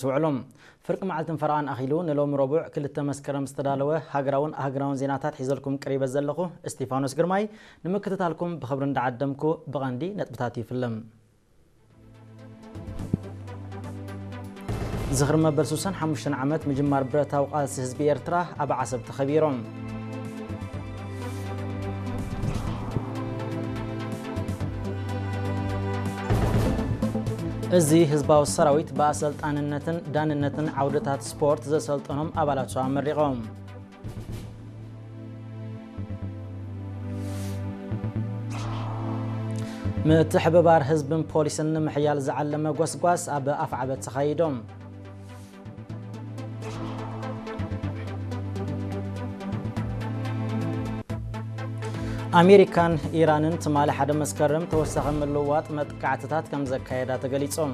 ትውዕሉ። ፍርቂ መዓልትን ፈረቓን ኣኺሉ ንሎሚ ረቡዕ ክልተ መስከረም ዝተዳለወ ሃገራውን ኣህጉራውን ዜናታት ሒዘልኩም ቀሪበ ዘለኹ እስቲፋኖስ ግርማይ። ንምክትታልኩም ብኽብሪ እንዳዓደምኩ ብቐንዲ ነጥብታት ይፍልም። ዝኽሪ መበል ሱሳን ሓሙሽተን ዓመት ምጅማር ብረታዊ ቃልሲ ህዝቢ ኤርትራ ኣብ ዓሰብ ተኸቢሮም። እዚ ህዝባዊ ሰራዊት ብኣሰልጣንነትን ዳንነትን ዓውድታት ስፖርት ዘሰልጠኖም ኣባላቱ ኣመሪቖም። ምትሕብባር ህዝብን ፖሊስን ንምሕያል ዝዓለመ ጎስጓስ ኣብ ኣፍዓበት ተኻይዶም። ኣሜሪካን ኢራንን ትማሊ ሓደ መስከረም ተወሳኺ ምልውዋጥ መጥቃዕትታት ከም ዘካየዳ ተገሊጾም።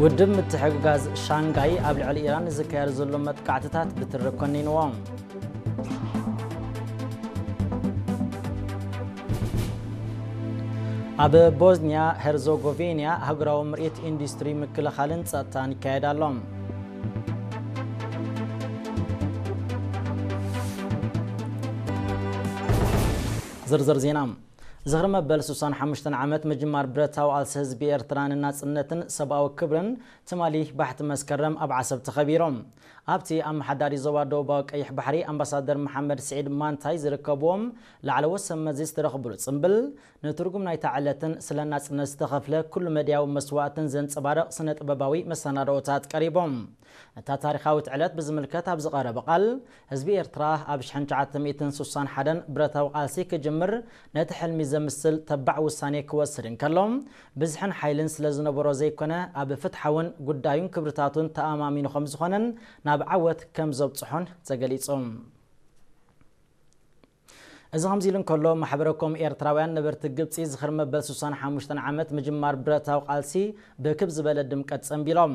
ውድብ ምትሕግጋዝ ሻንጋይ ኣብ ልዕሊ ኢራን ዝካየድ ዘሎ መጥቃዕትታት ብትሪ ኮኒንዎ። ኣብ ቦዝኒያ ሄርዞጎቪንያ ኣህጉራዊ ምርኢት ኢንዱስትሪ ምክልኻልን ጸጥታን ይካየድ ኣሎ። ዝርዝር ዜና። ዝኽሪ መበል ሱሳን ሓሙሽተን ዓመት ምጅማር ብረታዊ ቃልሲ ህዝቢ ኤርትራ ንናጽነትን ሰብኣዊ ክብርን ትማሊ ባሕቲ መስከረም ኣብ ዓሰብ ተኸቢሮም። ኣብቲ ኣመሓዳሪ ዞባ ደቡባዊ ቀይሕ ባሕሪ ኣምባሳደር መሓመድ ስዒድ ማንታይ ዝርከብዎም ላዕለዎት ሰብ መዚ ዝተረኽብሉ ጽምብል፣ ንትርጉም ናይታ ዕለትን ስለ ናጽነት ዝተኸፍለ ኩሉ መድያዊ መስዋእትን ዘንጸባርቕ ስነ ጥበባዊ መሰናድኦታት ቀሪቦም። ነታ ታሪኻዊት ዕለት ብዝምልከት ኣብ ዝቐረበ ቃል፣ ህዝቢ ኤርትራ ኣብ ሽሕን ትሽዓተ ሚእትን ሱሳን ሓደን ብረታዊ ቃልሲ ክጅምር ነቲ ሕልሚ ዘምስል ተባዕ ውሳኔ ክወስድ እንከሎ፣ ብዝሕን ሓይልን ስለ ዝነበሮ ዘይኮነ፣ ኣብ ፍትሓውን ጉዳዩን ክብርታቱን ተኣማሚኑ ከም ዝኾነን ናብ ዓወት ከም ዘብጽሖን ተገሊጹ። እዚ ከምዚ ኢሉ እንከሎ፣ ማሕበረ ኮም ኤርትራውያን ነበርቲ ግብጺ ዝኽሪ መበል ሱሳን ሓሙሽተን ዓመት ምጅማር ብረታዊ ቃልሲ ብክብ ዝበለ ድምቀት ጸንቢሎም።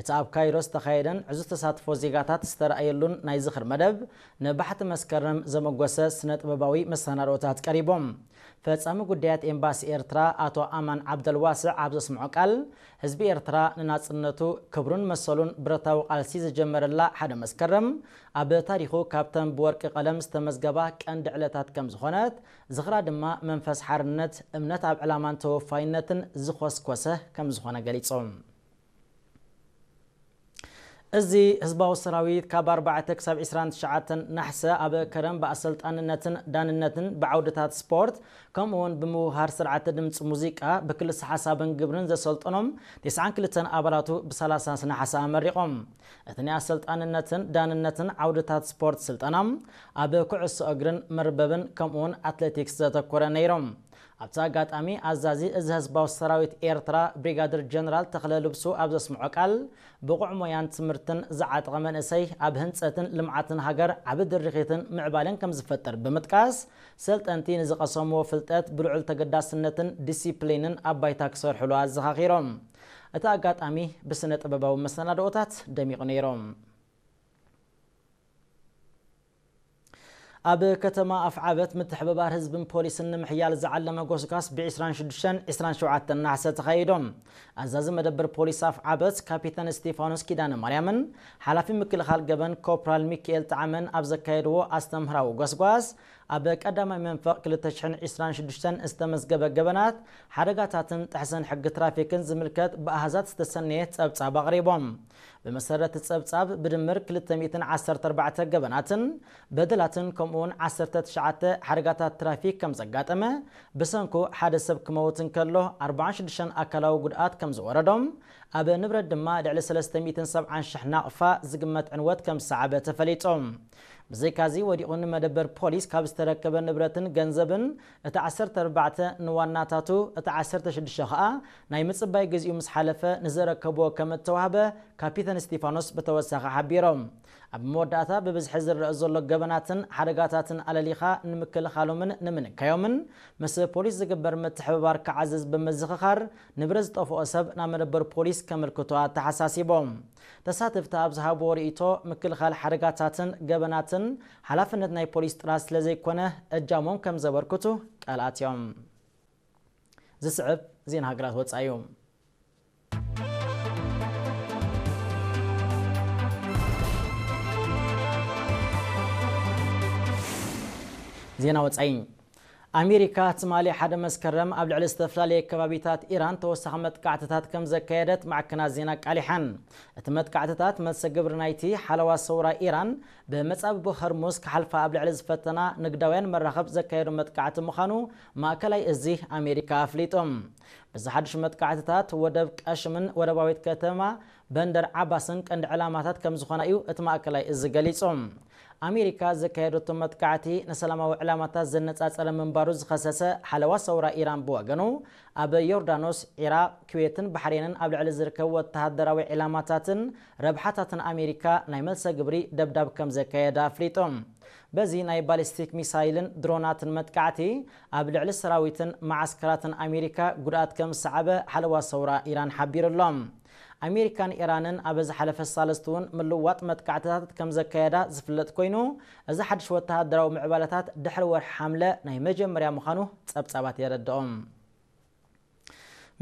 እቲ ኣብ ካይሮ ዝተኻየደን ዕዙዝ ተሳትፎ ዜጋታት ዝተረኣየሉን ናይ ዝኽሪ መደብ፣ ንባሕቲ መስከረም ዘመጎሰ ስነ ጥበባዊ መሰናድኦታት ቀሪቦም። ፈጻሚ ጉዳያት ኤምባሲ ኤርትራ ኣቶ ኣማን ዓብደልዋስዕ ኣብ ዘስምዖ ቃል፣ ህዝቢ ኤርትራ ንናጽነቱ፣ ክብሩን መሰሉን ብረታዊ ቃልሲ ዝጀመረላ ሓደ መስከረም፣ ኣብ ታሪኹ ካብተን ብወርቂ ቀለም ዝተመዝገባ ቀንዲ ዕለታት ከም ዝኾነት፣ ዝኽራ ድማ መንፈስ ሓርነት፣ እምነት ኣብ ዕላማን ተወፋይነትን ዝኾስኮሰ ከም ዝኾነ ገሊጾም። እዚ ህዝባዊ ሰራዊት ካብ ኣርባዕተ ክሳብ ዕስራን ትሽዓተን ናሕሰ ኣብ ከረን ብኣሰልጣንነትን ዳንነትን ብዓውድታት ስፖርት፣ ከምኡ እውን ብምውሃር ስርዓተ ድምፂ ሙዚቃ ብክልሲ ሓሳብን ግብርን ዘሰልጠኖም ተስዓን ክልተን ኣባላቱ ብሰላሳ ነሓሰ ኣመሪቖም። እቲ ናይ ኣሰልጣንነትን ዳንነትን ዓውድታት ስፖርት ስልጠና ኣብ ኩዕሶ እግርን መርበብን ከምኡ እውን ኣትሌቲክስ ዘተኮረ ነይሮም። ኣብቲ ኣጋጣሚ ኣዛዚ እዚ ህዝባዊ ሰራዊት ኤርትራ ብሪጋደር ጀነራል ተኽለ ልብሱ ኣብ ዘስምዖ ቃል፣ ብቑዕ ሞያን ትምህርትን ዝዓጠቐ መንእሰይ ኣብ ህንጸትን ልምዓትን ሃገር ዓቢ ድርኺትን ምዕባለን ከም ዝፈጥር ብምጥቃስ፣ ሰልጠንቲ ንዝቐሰምዎ ፍልጠት ብልዑል ተገዳስነትን ዲሲፕሊንን ኣብ ባይታ ክሰርሕሉ ኣዘኻኺሮም። እቲ ኣጋጣሚ ብስነ ጥበባዊ መሰናድኦታት ደሚቑ ነይሩ። ኣብ ከተማ ኣፍዓበት ምትሕብባር ህዝብን ፖሊስን ንምሕያል ዝዓለመ ጎስጓስ ብ ዕስራን ሽዱሽተን ዕስራን ሸውዓተን ነሓሰ ተኻይዶም። ኣዛዚ መደበር ፖሊስ ኣፍዓበት ካፒተን እስቲፋኖስ ኪዳነ ማርያምን ሓላፊ ምክልኻል ገበን ኮፕራል ሚካኤል ጣዕመን ኣብ ዘካየድዎ ኣስተምህራዊ ጎስጓስ፣ ኣብ ቀዳማይ መንፈቕ ክልተ ሽሕን ዕስራን ሽዱሽተን ዝተመዝገበ ገበናት፣ ሓደጋታትን ጥሕሰን ሕጊ ትራፊክን ዝምልከት ብኣሃዛት ዝተሰነየ ጸብጻብ ኣቕሪቦም። ብመሰረት ጸብጻብ፣ ብድምር ክልተ ሚእትን ዓሰርተ ኣርባዕተ ገበናትን በደላትን ከምኡውን ዓሰርተ ትሽዓተ ሓደጋታት ትራፊክ ከም ዘጋጠመ፣ ብሰንኩ ሓደ ሰብ ክመውት እንከሎ፣ ኣርባዓን ሽዱሽተን ኣካላዊ ጉድኣት ከም ዝወረዶም፣ ኣብ ንብረት ድማ ልዕሊ ሰለስተ ሚእትን ሰብዓን ሽሕ ናቕፋ ዝግመት ዕንወት ከም ዝሰዓበ ተፈሊጡ። ብዘይካዚ፣ ወዲቑ ንመደበር ፖሊስ ካብ ዝተረከበ ንብረትን ገንዘብን፣ እቲ ዓሰርተ ኣርባዕተ ንዋናታቱ፣ እቲ ዓሰርተ ሽዱሽተ ኸኣ ናይ ምጽባይ ግዜኡ ምስ ሓለፈ ንዘረከብዎ ከም እተዋህበ ካፒተን እስቲፋኖስ ብተወሳኺ ሓቢሮም። ኣብ መወዳእታ፣ ብብዝሒ ዝረአ ዘሎ ገበናትን ሓደጋታትን ኣለሊኻ ንምክልኻሎምን ንምንካዮምን ምስ ፖሊስ ዝግበር ምትሕብባር ክዓዝዝ ብምዝኽኻር፣ ንብረት ዝጠፍኦ ሰብ ናብ መደበር ፖሊስ ከመልክቶ ኣተሓሳሲቦም። ተሳተፍቲ ኣብ ዝሃብዎ ርእይቶ፣ ምክልኻል ሓደጋታትን ገበናትን ሓላፍነት ናይ ፖሊስ ጥራሕ ስለ ዘይኮነ፣ እጃሞም ከም ዘበርክቱ ቃል ኣትዮም። ዝስዕብ ዜና ሃገራት ወጻኢ እዩ። ዜና ወጻኢ። ኣሜሪካ ትማሊ ሓደ መስከረም ኣብ ልዕሊ ዝተፈላለየ ከባቢታት ኢራን ተወሳኺ መጥቃዕትታት ከም ዘካየደት ማዕከናት ዜና ኣቃሊሐን። እቲ መጥቃዕትታት መልሰ ግብሪ ናይቲ ሓለዋ ሰውራ ኢራን ብመጻብቦ ሆርሙዝ ክሓልፋ ኣብ ልዕሊ ዝፈተና ንግዳውያን መራኸብ ዘካየዶ መጥቃዕቲ ምዃኑ ማእከላይ እዚ ኣሜሪካ ኣፍሊጡ። በዚ ሓድሽ መጥቃዕትታት ወደብ ቀሽምን ወደባዊት ከተማ በንደር ዓባስን ቀንዲ ዕላማታት ከም ዝኾና እዩ እቲ ማእከላይ እዚ ገሊጹ። ኣሜሪካ ዘካየደቶ መጥቃዕቲ ንሰላማዊ ዕላማታት ዘነጻጸረ ምንባሩ ዝኸሰሰ ሓለዋ ሰውራ ኢራን ብወገኑ፣ ኣብ ዮርዳኖስ፣ ዒራቕ፣ ኩዌትን ባሕሬንን ኣብ ልዕሊ ዝርከቡ ወተሃደራዊ ዕላማታትን ረብሓታትን ኣሜሪካ ናይ መልሰ ግብሪ ደብዳብ ከም ዘካየደ ኣፍሊጡ። በዚ ናይ ባሊስቲክ ሚሳይልን ድሮናትን መጥቃዕቲ ኣብ ልዕሊ ሰራዊትን መዓስከራትን ኣሜሪካ ጉድኣት ከም ዝሰዓበ ሓለዋ ሰውራ ኢራን ሓቢሩ ኣሎ። ኣሜሪካን ኢራንን ኣብ ዝሓለፈ ሳልስቲ እውን ምልዋጥ መጥቃዕትታት ከም ዘካየዳ ዝፍለጥ ኮይኑ፣ እዚ ሓድሽ ወተሃደራዊ ምዕባለታት ድሕሪ ወርሒ ሓምለ ናይ መጀመርያ ምዃኑ ጸብጻባት የረድኦም።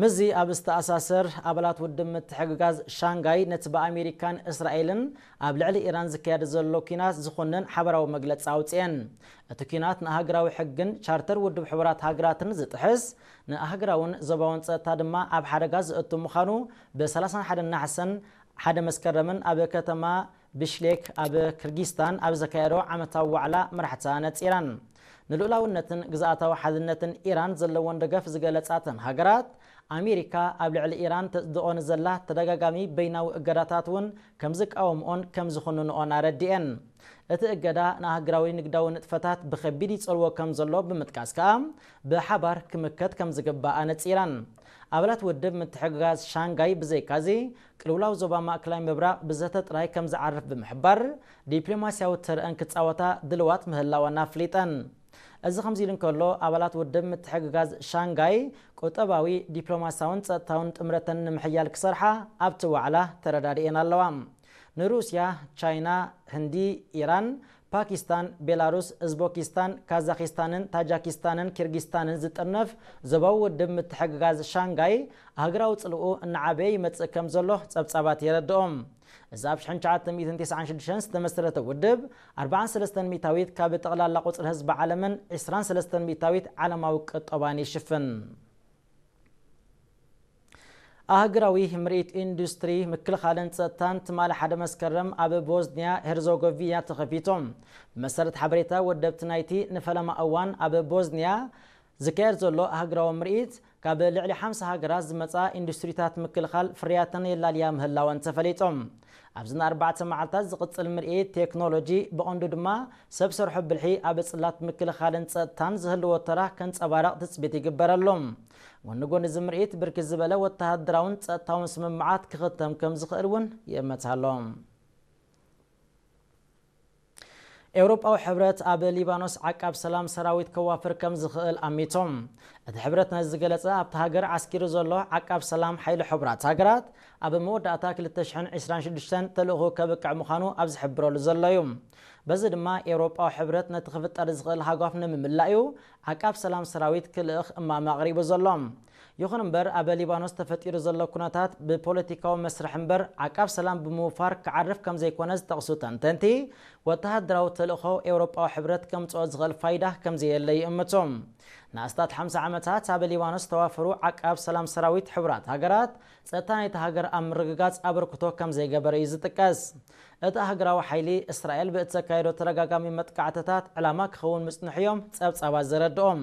ምስዚ ኣብ ዝተኣሳሰር፣ ኣባላት ውድብ ምትሕግጋዝ ሻንጋይ ነቲ ብኣሜሪካን እስራኤልን ኣብ ልዕሊ ኢራን ዝካየድ ዘሎ ኲናት ዝኹንን ሓበራዊ መግለጺ ኣውጽኤን። እቲ ኲናት ንኣህጉራዊ ሕግን ቻርተር ውድብ ሕቡራት ሃገራትን ዝጥሕስ፣ ንኣህጉራውን ዞባውን ጸጥታ ድማ ኣብ ሓደጋ ዘእቱ ምዃኑ ብ ሰላሳን ሓደን ናሕሰን ሓደ መስከረምን ኣብ ከተማ ብሽሌክ ኣብ ክርጊስታን ኣብ ዘካየዶ ዓመታዊ ዋዕላ መራሕቲ ኣነጺረን። ንልኡላውነትን ግዝኣታዊ ሓድነትን ኢራን ዘለወን ደገፍ ዝገለጻ እተን ሃገራት፣ ኣሜሪካ ኣብ ልዕሊ ኢራን ተጽድቖ ንዘላ ተደጋጋሚ በይናዊ እገዳታት እውን ከም ዝቃወምኦን ከም ዝኹንንኦን ኣረዲኤን። እቲ እገዳ ንኣህጉራዊ ንግዳዊ ንጥፈታት ብኸቢድ ይጸልዎ ከም ዘሎ ብምጥቃስ ከኣ፣ ብሓባር ክምከት ከም ዝግባእ ኣነጺረን። ኣባላት ውድብ ምትሕግጋዝ ሻንጋይ ብዘይካዚ፣ ቅልውላው ዞባ ማእከላይ ምብራቕ ብዘተ ጥራይ ከም ዝዓርፍ ብምሕባር፣ ዲፕሎማስያዊ ተርእን ክጻወታ ድልዋት ምህላወን ኣፍሊጠን። እዚ ከምዚ ኢሉ እንከሎ፣ ኣባላት ውድብ ምትሕግጋዝ ሻንጋይ ቁጠባዊ፣ ዲፕሎማስያውን ጸጥታውን ጥምረተን ንምሕያል ክሰርሓ ኣብቲ ዋዕላ ተረዳዲኤን ኣለዋ። ንሩስያ፣ ቻይና፣ ህንዲ፣ ኢራን፣ ፓኪስታን፣ ቤላሩስ፣ እዝቦኪስታን፣ ካዛኪስታንን ታጃኪስታንን ኪርጊስታንን ዝጥርነፍ ዞባዊ ውድብ ምትሕግጋዝ ሻንጋይ ኣህጉራዊ ጽልኡ እናዓበየ ይመጽእ ከም ዘሎ ጸብጻባት የረድኦም። እዚ ኣብ ሽሕን ትሽዓተ ሚእትን ተስዓን ሽዱሽተን ዝተመስረተ ውድብ፣ ኣርባዓን ሰለስተን ሚእታዊት ካብ ጠቕላላ ቁጽሪ ህዝቢ ዓለምን ዒስራን ሰለስተን ሚእታዊት ዓለማዊ ቅጦባን ይሽፍን። ኣህጉራዊ ምርኢት ኢንዱስትሪ ምክልኻልን ጸጥታን ትማሊ ሓደ መስከረም ኣብ ቦዝኒያ ሄርዞጎቪና ተኸፊቱ። ብመሰረት ሓበሬታ ወደብቲ ናይቲ ንፈለማ እዋን ኣብ ቦዝኒያ ዝካየድ ዘሎ ኣህጉራዊ ምርኢት፣ ካብ ልዕሊ ሓምሳ ሃገራት ዝመጻ ኢንዱስትሪታት ምክልኻል ፍርያተን የላልያ ምህላወን ተፈሊጡ። ኣብዚ ንኣርባዕተ መዓልታት ዝቕጽል ምርኢት ቴክኖሎጂ፣ ብቐንዱ ድማ ሰብ ሰርሖ ብልሒ ኣብ ጽላት ምክልኻልን ጸጥታን ዝህልዎ ተራ ከንጸባርቕ ትጽቢት ይግበረሉ። ጎኒ ጎኒ እዚ ምርኢት፣ ብርክት ዝበለ ወተሃደራውን ጸጥታውን ስምምዓት ክኽተም ከም ዝኽእል እውን ይእመት ኣሎ። ኤውሮጳዊ ሕብረት ኣብ ሊባኖስ ዓቃብ ሰላም ሰራዊት ከዋፍር ከም ዝኽእል ኣሚቶም። እቲ ሕብረት ነዚ ዝገለጸ፣ ኣብቲ ሃገር ዓስኪሩ ዘሎ ዓቃብ ሰላም ሓይሊ ሕቡራት ሃገራት ኣብ መወዳእታ ክልተ ሽሕን ዕስራን ሽዱሽተን ተልእኾ ከብቅዕ ምዃኑ ኣብ ዝሕብረሉ ዘሎ እዩ። በዚ ድማ ኤውሮጳዊ ሕብረት ነቲ ክፍጠር ዝኽእል ሃጓፍ ንምምላእ እዩ ዓቃብ ሰላም ሰራዊት ክልእኽ እማመ ኣቕሪቡ ዘሎ። ይኹን እምበር፣ ኣብ ሊባኖስ ተፈጢሩ ዘሎ ኩነታት ብፖለቲካዊ መስርሕ እምበር ዓቃብ ሰላም ብምውፋር ክዓርፍ ከም ዘይኮነ ዝጠቕሱ ተንተንቲ፣ ወተሃደራዊ ተልእኾ ኤውሮጳዊ ሕብረት ከምጽኦ ዝኽእል ፋይዳ ከም ዘየለ ይእምቱ። ንኣስታት ሓምሳ ዓመታት ኣብ ሊባኖስ ዝተዋፈሩ ዓቃብ ሰላም ሰራዊት ሕቡራት ሃገራት፣ ጸጥታ ናይቲ ሃገር ኣብ ምርግጋጽ ኣበርክቶ ከም ዘይገበረ እዩ ዝጥቀስ። እቲ ኣህጉራዊ ሓይሊ፣ እስራኤል ብእተካየዶ ተደጋጋሚ መጥቃዕትታት ዕላማ ክኸውን ምጽንሑ እዮም ጸብጻባት ዘረድኦም።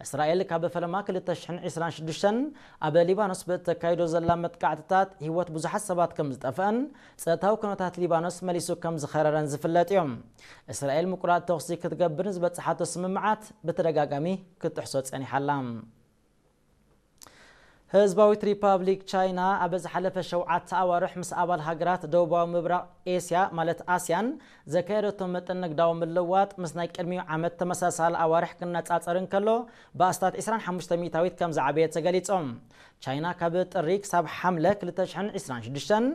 እስራኤል ካብ ፈለማ ክልተ ሽሕን ዕስራን ሽዱሽተን ኣብ ሊባኖስ ብእተካይዶ ዘላ መጥቃዕትታት ህይወት ብዙሓት ሰባት ከም ዝጠፍአን ጸጥታዊ ኩነታት ሊባኖስ መሊሱ ከም ዝኸረረን ዝፍለጥ እዮም። እስራኤል ምቁራጽ ተኹሲ ክትገብር ንዝበጽሓቶ ስምምዓት ብተደጋጋሚ ክትጥሕሶ ጸኒሓ ኣላ። ህዝባዊት ሪፓብሊክ ቻይና ኣብ ዝሓለፈ ሸውዓተ ኣዋርሕ ምስ ኣባል ሃገራት ደቡባዊ ምብራቕ ኤስያ ማለት ኣስያን ዘካየደቶ መጠን ንግዳዊ ምልውዋጥ ምስ ናይ ቅድሚኡ ዓመት ተመሳሳሊ ኣዋርሕ ክነጻጸር እንከሎ ብኣስታት ዕስራን ሓሙሽተ ሚእታዊት ከም ዝዓበየ ተገሊጹ። ቻይና ካብ ጥሪ ክሳብ ሓምለ ክልተ ሽሕን ዕስራን ሽዱሽተን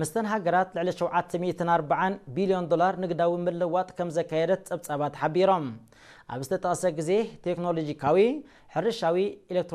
ምስተን ሃገራት ልዕሊ ሸውዓተ ሚእትን ኣርባዓን ቢልዮን ዶላር ንግዳዊ ምልውዋጥ ከም ዘካየደት ጸብጻባት ሓቢሮም። ኣብ ዝተጠቕሰ ግዜ ቴክኖሎጂካዊ፣ ሕርሻዊ፣